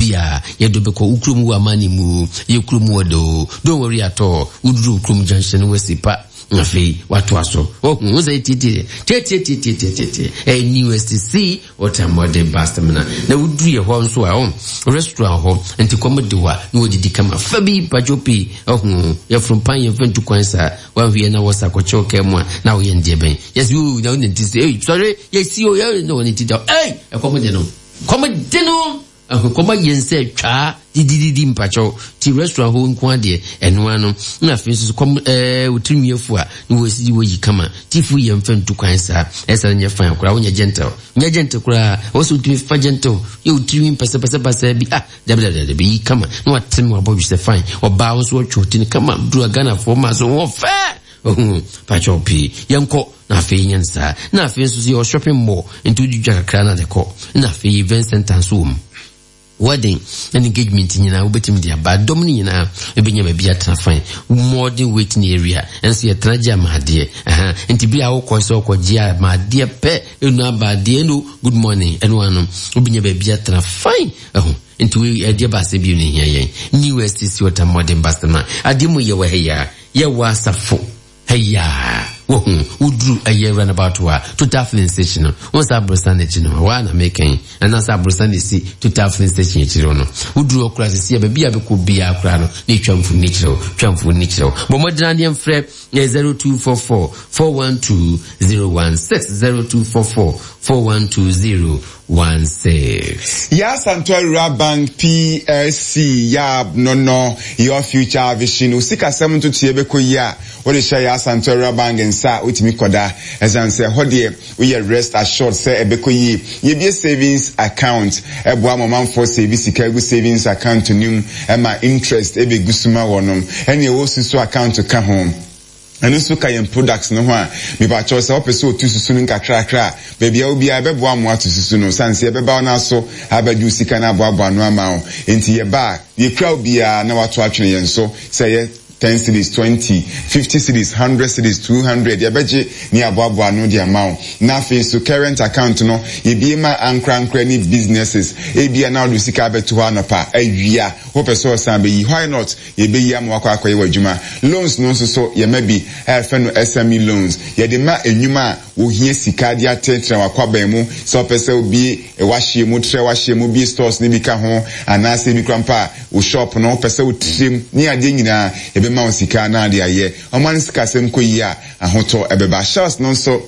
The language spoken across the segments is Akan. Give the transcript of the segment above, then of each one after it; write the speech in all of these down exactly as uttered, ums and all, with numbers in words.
Baabi a yɛde bɛkɔ wo kurom wɔ amane mu, yɛ kurom wɔ do. Don't worry at all. Woduru kurom junction no, wasi pa, afei watoa so. Ɔhu wo sɛ tietie tietietie, ɛyɛ New S T C Ultramodern Bus Terminal. Na woduru yɛ hɔ nso a, ɔn restaurant hɔ nti kɔm de wa na wɔdidi kama fa bi mpatwo pii. Ɔhu yɛforo mpan, yɛmfa ntu kwan saa. Wanhwɛ na wɔsa kɔkyɛw kaa mu a, na woyɛ ndeɛ bɛn yɛsi o na wone ti sɛ ei, sɔre, yɛsi o, yɛ na wɔne ti da. Ei, ɛkɔm de no, kɔm de no, ɛho kɔm ayɛ nsɛ twaa didididi. Mpakyɛw, ti restaurant hɔ nko adeɛ ɛnoa no. Na afei nso kɔm ɛɛ wotiri nwiafu a na wɔsi wɔyi kama tifu, yɛ mfa ntu kwan saa. Ɛsɛ nyɛ fine koraa, wonyɛ gentle, nyɛ gentle koraa. Wɔsɛ wotumi fa gentle yɛ wotiri nwi pɛsɛpɛsɛpɛsɛ bi ah, dabi dabi dabi, yi kama na watene wabɔ dwesɛ fine. Ɔbaa nso wɔtwe ɔti no kama duru a, Ghanafoɔ ma so wɔ fɛ. Ɔhu pakyɛw pii, yɛnkɔ. Na afei nyɛ no saa. Na afei nso so yɛwɔ shopping mall, nti wodi dwa kakra na de kɔ. Na afei event center nso wɔ mu, wedding and engagement nyinaa wobɛtumi de aba. Dɔm no nyinaa ɛbɛnya baabi atena fine. Modern waiting area ɛnso yɛtena gye amaadeɛ. Aha, nti bi a wokɔ sɛ wokɔgye amaadeɛ pɛ, ɛnu abaadeɛ no, good morning, ɛno ano wobɛnya baabi atena fine. Ɛho nti wei ɛdeɛ baasɛ bio no hia yɛn New S T C Ultramodern Bus Terminal. Adeɛ mu yɛwɔ ha yi a, yɛwɔ asafo ɛyà wohu woduru ɛyɛ roundabout a Total filling station no, wɔn sɛ aborosan n'akyi no waa na meka yi, anaasɛ aborosan na esi Total filling station akyire no. Woduru hɔ koraa sisi a, baabi a bɛkɔ biara koraa no, na etwa mfoni kyerɛw, twa mfoni kyerɛw. Bɔ mmɔden adeɛ mfrɛ yɛ zero two four four four one two zero one six, zero two four four four one two zero one six. Yaa Asantewaa Rural Bank P L C, yab no no your future vision. Osikasɛm ntotoeɛ bɛkɔ yi a, wode hyɛ Yaa Asantewaa Rural Bank nsa a, wotumi kɔda, ɛsiane sɛ ɛhɔ deɛ woyɛ rest assured sɛ ɛbɛkɔ yie. Yɛbie savings account, ɛboa ma ɔmanfoɔ save sika gu savings account no mu, ɛma interest ɛbɛgu so ma wɔnom. Ɛne ɛwɔ susu account ka ho, ɛno nso ka yɛn products no ho a. Mipakyɛw, sɛ wopɛ sɛ otu susu no nkakrakra a, baabi a wobiara ɛbɛboa mo ato susu no, sane sɛ yɛbɛba wo no aso abɛgye wo sika no aboaboa no ama wo. Nti yɛba a, yɛkura wo biara na wato atwene yɛn so, sɛ ɛyɛ ten cedis, twenty, fifty cedis, hundred cedis, two hundred, yɛbɛgye ne aboaboa no de ama wo. Na afei nso current account no, yɛbie ma ankorankora ne businesses. Ebia na wode sika abɛto hɔ, anɔpa awia wopɛ sɛ ɔsan bɛyi, why not? Yɛbɛyi ama wakɔ akɔyɛ w'adwuma. Loans no nso so, yɛma bi a yɛfrɛ no S M E loans. Yɛde ma enwuma a wohia sika de atenatena wakwaban mu, sɛ ɔpɛ sɛ obie wahyɛ mu, trɛ wahyɛ mu, bie stores ne bi ka ho, anaasɛ ebi kora mpa a wo shop no wopɛ sɛ wotirem ne adeɛ nyinaa, yɛbɛma wo sika na ade ayɛ. Ɔma no sikasɛm kɔ yie a, ahotɔ ɛbɛba. Shares no nso,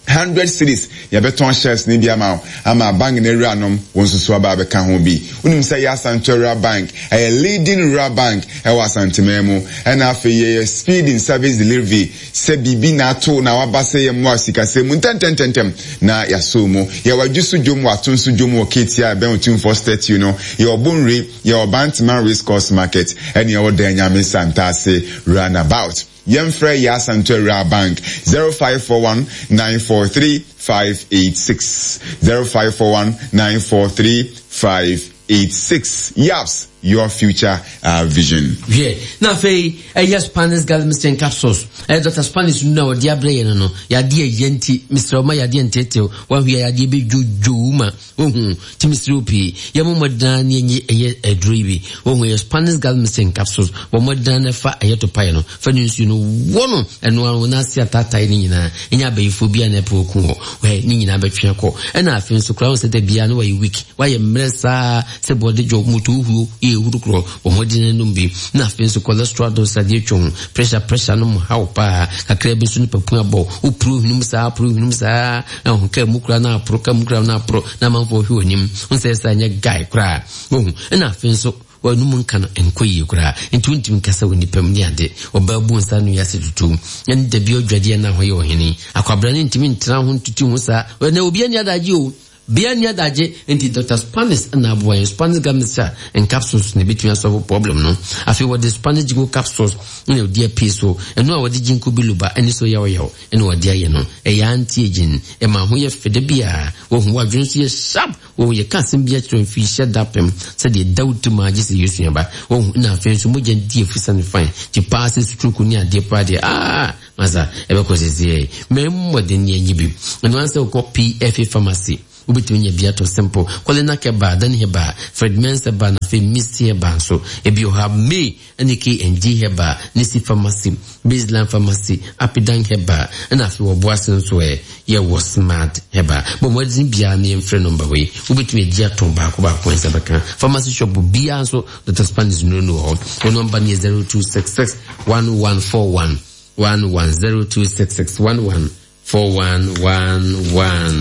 hundred cedis yɛbɛtɔn shares ne bi ama wo, ama bank no awuranom wɔn nso so aba abɛka ho bi. Wonim sɛ yɛ Asante Rural Bank ɛyɛ leading rural bank ɛwɔ Asanteman mu. Ɛna afei yɛyɛ speed in service delivery, sɛ biribi na ato na waba sɛ yɛ mmoa sikasɛm mu ntɛntɛntɛntɛm na yɛasɔ mu. Yɛwɔ adwo so dwom, wɔ ato nso dwom wɔ Ketia, ɛbɛn Otumfoɔ statue no. Yɛwɔ Bonre, yɛwɔ Bantama Race Course Market, ɛne yɛwɔ Dan Nyame Santase roundabout. Yɛmfrɛ yɛ Asante Rural Bank zero five four one nine four three five eight six, zero five four one nine four three five eight six. Yaps, your future uh, vision. Hwɛ, na afei ɛyɛ Spanish Garlic Mixture capsules, ɛyɛ Doctor Spanish nu a wɔde abrɛ yɛn no no yadeɛ ɛyɛ. Nti mesrɛ wo, ma yadeɛ ntetew wahwɛ yadeɛ bɛdwodwo ma wohu. Nti mesrɛ wo pii, yɛmmɔ mmɔdena ne ɛnyɛ ɛyɛ aduro yi bi. Wohu, ɛyɛ Spanish Garlic Mixture capsules. Bɔ mmɔdena no fa ɛyɛ topaeɛ no, fa ne nsuo no wɔ no, ɛno ano n'ase ataatae no nyinaa ɛnyɛ abayifoɔ bi a na ɛpɛ oku hɔ hɛ ne nyinaa bɛtwe akɔ. Ɛna afei nso koraa wo sɛ da biara no wayɛ weak, wayɛ mmerɛ saa sɛ bɔde dwo moto huo yɛ ehuru korɔ, bɔ mmɔden anom bi. Na afei nso cholesterol do sadeɛ twa ho, pressure pressure no mu haw paa kakra bi nso, nipa pun abɔ wopuro hwenum saa, puro hwenum saa, ɛho kaa mu kura na aporo, kaa mu kura na aporo, na amanfoɔ hwɛ w'anim nsɛ sɛ anyɛ guy koraa wohu. Ɛna afei nso wɔnum nka no nkɔ yie koraa, nti wontumi nkasa wɔ nipa mu ne ade. Ɔbaa bu nsa no yɛ ase tutu, ɛne dabi ɔdwadeɛ na hɔ yɛ ɔhene akwabra ne ntumi ntena ho ntutu ho saa na obi ani adagye o, bia ni adagye. Nti Doctor Spanish na aboa yɛn. Spanish Garlic and capsules na ebitumi asɔfo problem no. Afei wɔde Spanish ginkgo capsules na wɔde apie so, ɛno a wɔde ginkgo biloba ɛne so yawyaw ɛna wɔde ayɛ no. Ɛyɛ anti aging, ɛma ho yɛ fɛ da bi a wɔhu wadwene so yɛ sharp. Wɔhu yɛ ka asɛm bi akyerɛ mfi hyɛ da pɛm sɛdeɛ da wo tirim agye sɛ yɛsua ba wɔhu. Na afei nso mogya di afusa no fine, nti paa sɛ stroke ne adeɛ paa deɛ aa masa ɛbɛkɔ sɛsɛ mɛ mmɔden ne anyi bi. Ɛno ansɛ wokɔ P F A Pharmacy. Wobɛtumi anya bi atɔ simple. Kɔlena Kɛba, Dani Heba, Fred Mensah ba na afei Misty Heba nso. Ebi wɔ hɔ a May ɛne K and G Heba, Nisi Pharmacy, Baseline Pharmacy, Apidan Heba, ɛna afei wɔ Boase nso ɛ yɛwɔ Smart Heba. Bɔ mmɔden biara ne yɛmfrɛ number wei. Wobɛtumi agye atɔn baako baako nsa bɛka. Pharmacy shop biara nso Doctor Spanish nnuro no wɔ hɔ. Wɔn number no yɛ zero two six six one one four one one one, zero two six six one one four one one one.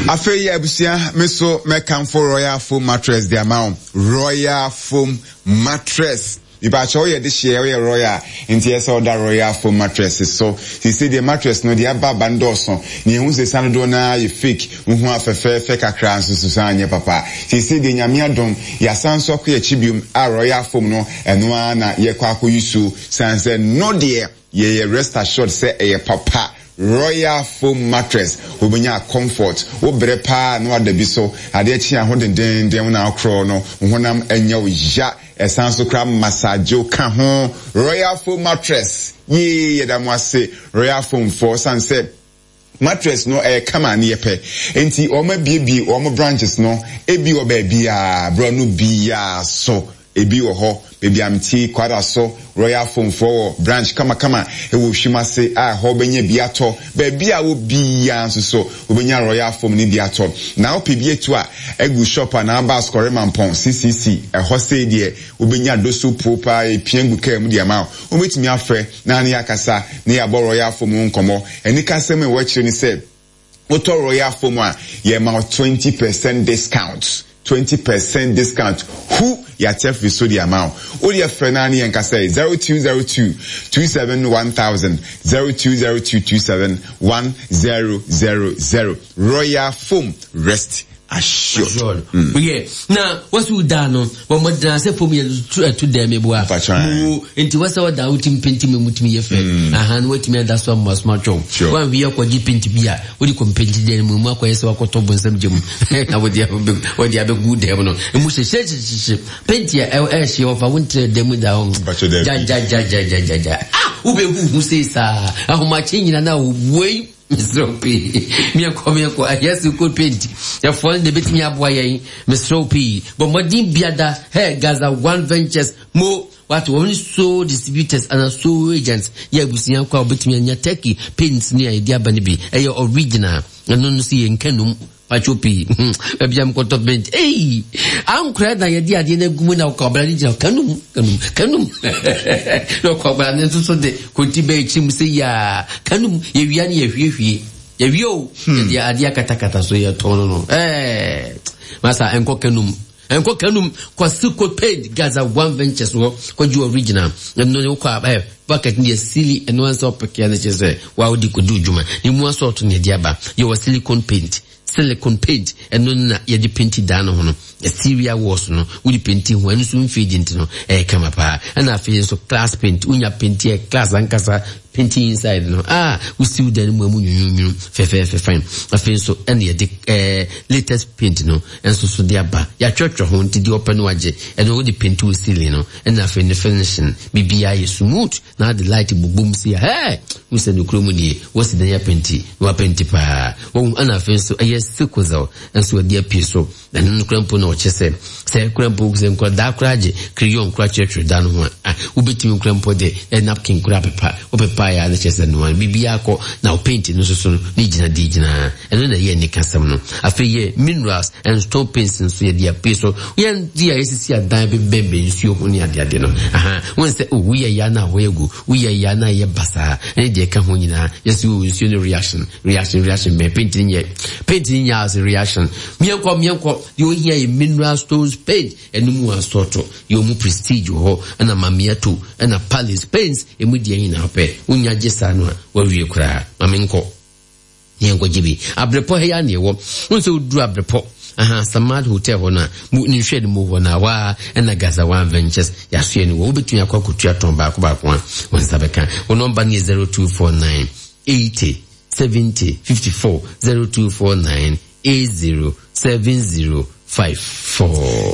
Afei abusua, me so mɛkamfo Royal Foam Mattress de ama wo. Royal Foam Mattress mipakyɛ, woyɛ de hyeɛ, woyɛ royal nti ɛsɛ ɔda Royal Foam Mattress so. Sisi deɛ mattress no deɛ aba aba ndɔɔso na ehu sɛ san dodoɔ naa yɛ fake, wohu afɛfɛɛfɛ kakra nso so san nyɛ papa. Sisi deɛ, Nyame adom, yɛasan so akɔ yɛkyi biom a Royal Foam no ɛno ara na yɛkɔ akɔ yi so san sɛ no deɛ yɛyɛ rest assured sɛ ɛyɛ papa. Royal Foam Mattress, wobɛnya comfort. Wobrɛ paa na wada bi so, adeɛ kye aho dendenden wo na akorɔ no wo honam ɛnyɛ wo ya, ɛsan so kora massage ka ho. Royal Foam Mattress yee, yɛda mo ase Royal Foam foɔ, san sɛ mattress no ɛyɛ kama ne yɛpɛ. Nti wɔn abiebie wɔn branches no ebi wɔ baabiara, borɔno biara so ebi wɔ hɔ. Baabi a mte kwada so, Royal Foam foɔ wɔ branch kamakama ɛwɔ Hwim ase a ɛhɔ bɛnya bi atɔ. Baabi a wɔ biara nso so wobɛnya Royal Foam ne bi atɔ. Na wopɛ bi etu a egu shop a na aba Asokore Mampɔn C C C ɛhɔ sei deɛ wobɛnya doso po paa epia gu kaa mu de ama wo. Wobɛtumi afrɛ na ne akasa ne yɛabɔ Royal Foam ho nkɔmmɔ. Ɛne kasɛm a ɛwɔ akyire ne sɛ wotɔ Royal Foam a, yɛma wo twenty percent discount, twenty percent discount hu yàtɛ firi so de ama wo. O deɛ frɛ naa ne yɛn kasa yi zero two zero two two seven one thousand, zero two zero two two seven one zero zero zero. Royal Foam, rest assured. Mm. Yeah. Na wasu da no bɔ mmɔdena sɛ fam yɛ ɛto dɛm eboa mu nti wɔsɛ wɔda wotumi paint mu, mutumi yɛ fɛ aha no, watumi ada so ama asoma twɛw wanhwi yɛ kɔgye paint bi a wode kɔ paint dɛm mu mu akɔyɛ sɛ wakɔtɔ bonsam gye mu na wɔde wɔde abɛgu dɛm no emu hyehyɛ paint a ɛhyɛ wɔfa wo ntrɛ dɛm mu da hɔ gyagyagyagyagyagyagya ah, wobɛhu hu sei saa ahomakye nyina na wei mesrɛ wo pii. Miɛnkɔ miɛnkɔ ɛyɛ coat paint ɛfoɔ no na ɛbɛtumi aboa yɛn. Mesrɛ wo pii, bɔ mmɔden biada hɛ Gaza One Ventures mo wato wɔn so distributors ana so agents yɛ abusua kɔ a wobɛtumi anya Turkey paints ne a yɛde aba no bi, ɛyɛ original. Ɛno no so yɛ nkanum patwo pii. Baabi a mekɔtɔ paint ei, ankora na yɛde adeɛ no agu mu na ɔkɔbra no gyina kanum kanum kanum na ɔkɔbra no nso so de konti bɛɛ akyi mu sɛ yaa kanum yɛwia no yɛhwiehwie yɛwie o, yɛde adeɛ akatakata so yɛtɔn no no ɛɛ masa ɛnkɔ kanum, ɛnkɔ kanum. Kwasi ko paint Gaza One Ventures wɔ kɔgye original ɛno ne wokɔ a ɛ bucket no yɛ sili ɛno ansa ɔpɛkea no kyerɛ sɛ waa wode kɔdi dwuma ne mu asɔɔto ne yɛde aba. Yɛwɔ silicone paint. Silicone paint ɛno na yɛde paint dan no ho no, exterior walls no wode paint ho, ɛno nso mfie gye nti no ɛyɛ kama paa. Ɛna afei nso class paint, wonya paint yɛ class ankasa, painting inside no ah, wosiw dan no mu amu nwunwunwunu fɛfɛɛfɛ fine. Afei nso ɛna yɛde ɛɛ latest paint no nso so de aba, yɛatwerɛtwerɛ ho nti deɛ ɔpɛ no agye. Ɛno wode paint wo ceiling no, ɛna afei ne finishing biribiara yɛ smooth na ade light bobom si a hɛɛ wosɛ no kurom nie wɔsi dan yɛ paint na wapaint paa wɔn. Ɛna afei nso ɛyɛ sickle nso wɔde apue so. Ɛno no kura mpo na ɔkyɛ sɛ sɛ kura mpo sɛ nkwadaa kora agye crayon kora kyerɛkyerɛ da no ho a ah, wobɛtumi kura mpo de ɛ napkin kora pepa, wopepa yɛ a ne kyerɛ sɛ noa biribiara kɔ na wo paint no nso so no ne gyina de gyina. Ɛno na ɛyɛ anikasɛm no. Afei yɛ minerals and stone paints nso yɛde apue so. Yɛn di a yɛsisi adan bɛbɛnbɛn nsuo ho ne adeade no aha wɔn sɛ oh, woyɛ ya na wɔyɛ gu, woyɛ ya na yɛ basaa ɛne deɛ ɛka ho nyinaa yɛsi wɔ nsuo no reaction reaction reaction bɛn paint no nyɛ paint no nyɛ ase reaction. Miɛnkɔ miɛnkɔ deɛ ohia yɛ mineral stones paint. Ɛno mu asɔɔto yɛ ɔmu Prestige wɔ hɔ, ɛna Mamiato, ɛna Palace paints emu deɛ nyinaa pɛ wonya gye saa no a wawie koraa. Maame nkɔ yɛnkɔgye bi Abrepɔ ha yi a neɛ wɔ wo sɛ woduru Abrepɔ aha Samad Hotel hɔ no a mu ne nhwɛ no mu hɔ no a waa ɛna Gaza One Ventures yɛasoɛ no wɔ. Wobɛtumi akɔ akɔtua tɔn baako baako a wo nsa bɛka. Wo number no yɛ zero two four nine eighty seventy fifty-four, zero two four nine eighty seventy five four.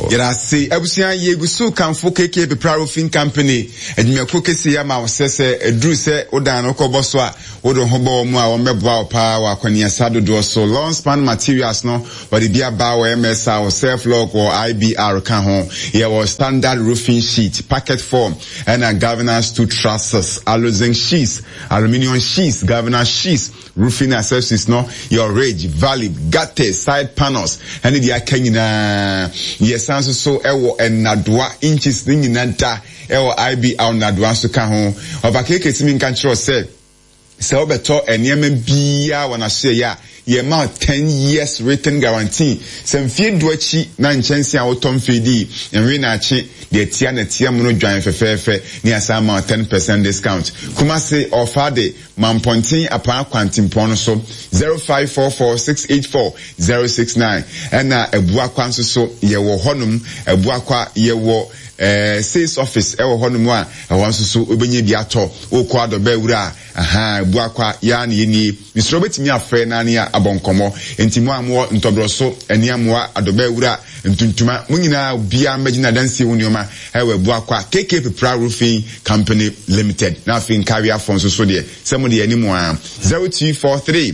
Yɛda abusua yɛgu so kamfo K K Pepra Roofing Company adwumakuo kɛseɛ ama wo sɛ sɛ ɛduru sɛ wodan no wokɔbɔ so a, wode ho bɔ wɔ mu a, wɔmmɛboa wo paa wɔ akɔneasa dodoɔ so. Long span materials no, wɔde bi aba wɔ M S R, self lock wɔ I B R ka ho. Yɛwɔ standard roofing sheet, packet form, ɛna galvanized steel trusses, aluzinc sheets, aluminium sheets, galvanized sheets, roofing accessories no, your ridge, valley, gutters, side panels, ɛne deɛ aka nyinaa. Yɛsan nso so ɛwɔ nnadoa inches ne nyinaa da ɛwɔ I B R nnadoa nso ka ho. Ɔfa keeke si mi nka kyerɛ sɛ sɛ wobɛtɔ nneɛma biara wɔ n'ahyɛ a, yɛma ten years written guarantee sɛ mfie du akyi na nkyɛnse a wotɔ mfeedi nwe n'akye deɛ tia na tia mu no dwan fɛfɛɛfɛ ne asan ma ten percent discount. Kumase ɔfa de Mampɔnten Apaa Kwantempɔn no so, zero five four four six eight four zero six nine. Ɛna Abuakwa nso so yɛwɔ hɔnom. Abuakwa yɛwɔ ɛɛ sales office ɛwɔ hɔnom a ɛhɔ nso so wobɛnya bi atɔ. Wokɔ adɔbɛ wura a, aha Abuakwa yaa ne yɛnie. Mesrɛ, wobɛtumi afrɛ na ne abɔ nkɔmmɔ. Nti mo a mowɔ ntɔborɔ so ɛne amoa adɔbɛ wura ntuntuma mo nyinaa, obiara mmɛgyina adansie wo nneɛma ɛwɔ Abuakwa K K Pepra Roofing Company Limited. Na afei nkaweafoɔ nso so deɛ sɛ mo deɛ anim a, zero two four three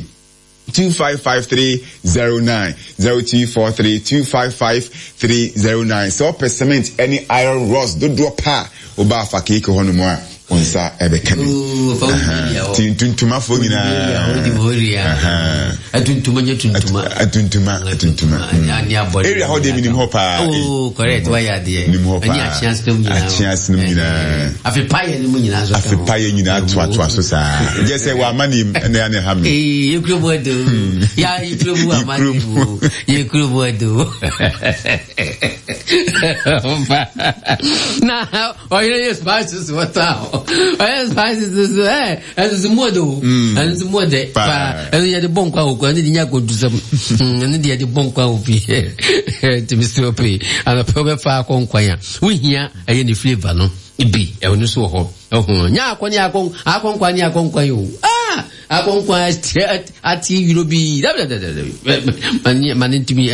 two five five three zero nine, zero two four three two five five three zero nine. Sɛ ɔpɛ cement ɛne iron rods dodoɔ pa a, woba afa keeke hɔ nom a, wo nsa ɛbɛka bi. Nti ntuntumafoɔ nyinaa. Atuntuma nye tuntuma. Atuntuma, atuntuma area hɔ deɛ, menim hɔ paa. Oh, correct, wayɛ adeɛ. Nim hɔ paa. Ɛne akyeasenom nyinaa. Akyeasenom nyinaa. Afe payɛ no mu nyinaa so. Afe payɛ nyinaa toatoa so saa gye sɛ wɔama nim ɛna ɛne ha me. Ee, yɛkuro mu ado ya, yɛkuro mu ama ne mu, yɛkuro mu ado na ɔyɛ yɛ spices wɔtɔ a, ɔyɛ spices so ɛ ɛno so mu ɔdɛ o, ɛno so mu ɔdɛ paa. Ɛno yɛde bɔ nkwa wɔ kwan, ɛno de nya akɔdusɛm, ɛno de yɛde bɔ nkwa wɔ pii. Tìmí sɛ ɔpɛ anɔpɛ wobɛfa akɔ nkwan a wohia, ɛyɛ ne flavour no bi, ɛno so wɔ hɔ. Ɛho nyɛ akɔ ne akɔ akɔ nkwan ne akɔ nkwan o, ah, akɔ nkwan ate yuro bi dabi ma ne ntumi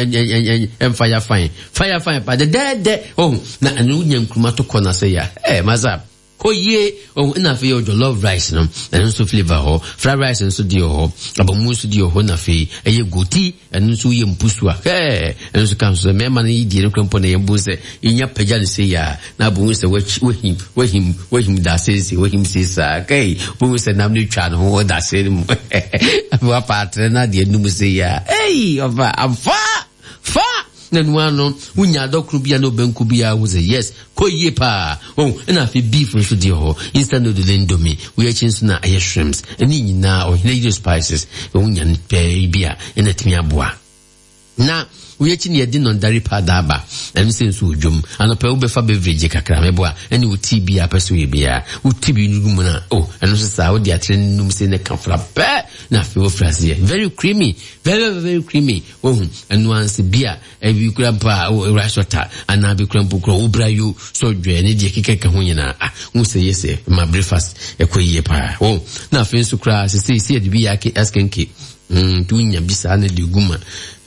ɛmfa ya fain fa ya fain pa dɛdɛɛdɛ. Ɔho na ɛno wonya nkuruma to kɔ na sɛ ya ɛ masa kɔ yie. Ɔho ɛna afei yɛ jollof rice no, ɛno nso flavour hɔ, fried rice nso deɛ wɔ hɔ, abamu nso deɛ wɔ hɔ, na afei ɛyɛ goti, ɛno nso yɛ mpusu a hɛɛ, ɛno nso ka nso sɛ mmarima no yi die no kura mpo na yɛn bo sɛ yɛnya pagya no se yɛ a, na abo sɛ wahim wahim wahim da ase se wahim se saa kai bo sɛ nam no twa ne ho wɔ da ase no mu, afei wapa atere na adeɛ num se yɛ a, ei, ɔfa afa fa na nua no wonya adɔkoro bi a na ɔbɛnko bi a wo sɛ yes, kɔ yie paa. Oh, ɛna afei beef nso deɛ hɔ, instant noodle, Indomie wei akyi nso na ɛyɛ shrimps, ɛne nyinaa Ɔhene Yere Spices wonya no pɛɛ bi a ɛna tumi aboa. Na wei akyi ne yɛde nɔndare pa daaba, ɛno sɛ nso wɔ dwom anɔpɛ wobɛfa beverage kakra mɛboa ɛne wo tea bi a pɛ so yɛ biara, wo tea bi no gu mu no a, oh, ɛno nso saa wode atere no num sɛ ne ka fra pɛ na afei wofiri aseɛ, very creamy, very very creamy. Wohu ɛno anse bi a ɛbi kura mpo a rice water anaa bi kura mpo kura wobra yo so dwɛ ne deɛ keka ka ho nyinaa ah, hu sɛ yɛ sɛ ma breakfast ɛkɔ yie paa. Wo na afei nso koraa sɛ sɛ sɛ yɛde bi yɛ askenke nti wonya bi saa na de gu ma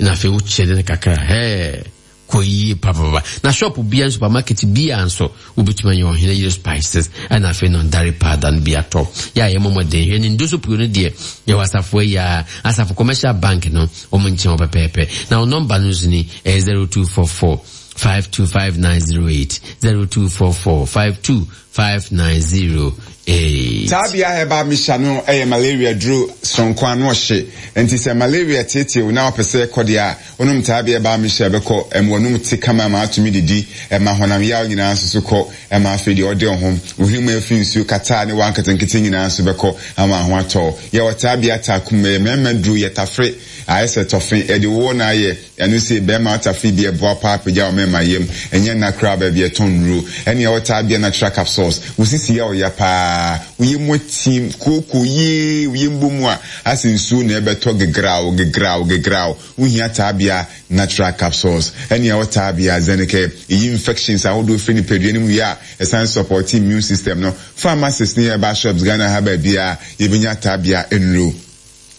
na afei wokyerɛ no kakra hɛɛ, kɔ yie papapapa. Na shop bia, supermarket bia nso wobɛtumi ayɛ Ɔhene Yere Spices ɛna afei no ndare powder no bi atɔ. Yɛ a yɛmmɔ mmɔden hwɛ ne ndoso puo no deɛ, yɛwɔ asafo ayi a Asafo Commercial Bank no wɔn nkyɛn wɔ pɛpɛɛpɛ. Na wo nɔmba no nso ni, ɛyɛ zero two four four five two five nine zero eight, zero two four four five two five nine zero eight. Taabea Herbal Mixture no yɛ malaria duro soronko ano ɔhye. Nti sɛ malaria teetew na wopɛ sɛ ɛkɔ deɛ a, wonom Taabea Herbal Mixture, ɛbɛkɔ. Ɛma w'anum te kama ma atumi didi, ɛma honam yaw nyinaa nso so kɔ, ɛma afei deɛ ɔde ho wohwene mu afi nsuo kataa ne wa nketenkete nyinaa nso bɛkɔ ama ho atɔ. Yɛwɔ Taabea Taakum, ɛyɛ mmarima duro, yɛ tafere ayɛ sɛ tɔfe, ɛde wowɔ na ayɛ ɛno sɛ bɛrima atafe bi, ɛboa paa pagya wɔ mmarima yam, ɛnyɛ nna koraa baabi ɛtɔn nnuro. Ɛne ɛwɔ Taabea Natural Capsules, wo sisi yɛ ɔya paa, woyɛ mu atim kooko yie, woyɛ mbɔ mu a asɛ nsuo na ɛbɛtɔ gegraw gegraw gegraw, wohia Taabea Natural Capsules. Ɛne ɛwɔ Taabea Zenike, ɛyi infections ahodoɔ firi nipadua no mu wie a, ɛsan support immune system no. Pharmacies ne herbal shops Ghana ha baabi a yɛbɛnya Taabea nnuro.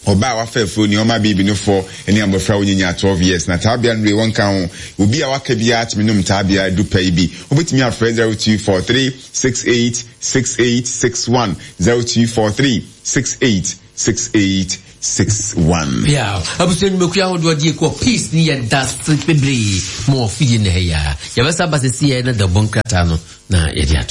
Ɔbaa a wafa afuro, nea ɔma baby no fɔ, ne abɔfra a wonyinya twelve years na taabea no wei wɔnka ho. Obi a waka biara tumi nom taabea du pɛ yi bi. Wobɛtumi afrɛ zero two four three six eight six eight six one, zero two four three six eight six eight six one. Yeah, abusua, nnwumakuo ahodoɔ deɛ kɔ peace ne yɛ da se bebree ma ɔfidie na ɛyɛ a yɛbɛsa ba sɛsi yɛ na dabɔ nkrataa no na yɛde ato.